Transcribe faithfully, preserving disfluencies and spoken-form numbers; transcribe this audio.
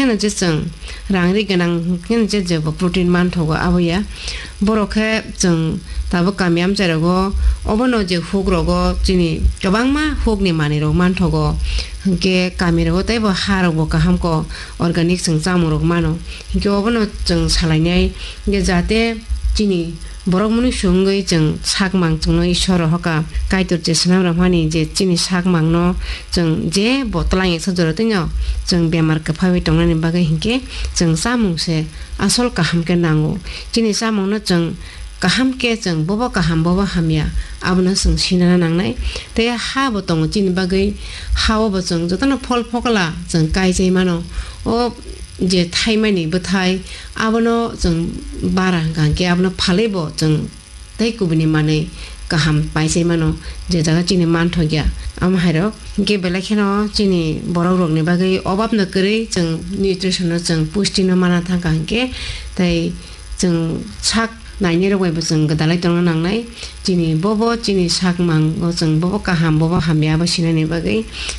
Heno je chwng rang ri gwnang hwnkhe je jebo protein manthogo abo ya. Borok khe chwng tabuk kami amchai rogo obono je huk rogo chini kwbangma huk ni manwi rok manthogo. Hwnkhe kami rogo teibo ha rok bo kaham ko organic chwng chamung rok mano. Hwnkhe obono chwng salainai hwnkhe jate chini borok mwnwi swngwi chwng sakmang chwngno Ishwar rohoka Kaitor je swnam rwmani je chini sakmangno chwng je bo twlang eksa jora twino chwng bemar kwphawi tongnani bagwi hinkhe chwng chamung se asol kaham khe nango. Chini chamungno chwng kaham khe chwng bobo kaham bobo hamya abono chwng sinana nangnai. Tei ha bo tongo chini bagwi, ha o bo chwng jotono phol phokla chwng kaichai mano. O je thaimani bwthai abono chwng bara hwnkha hwnkhe abono phalwi bo chwng tei kubuni manwi kaham paisai mano, je jaga chini manthokya. Amo hairok hwnkhe belai kheno chini borok rokni bagwi obabno kwrwi chwng nutrition no chwng pusti no mana thangkha hwnkhe tei chwng sak nainai rok bai bo chwng gwdalai tongna nangnai. Chini bobo chini sakmang o chwng bobo kaham bobo hamya abo sinani bagwi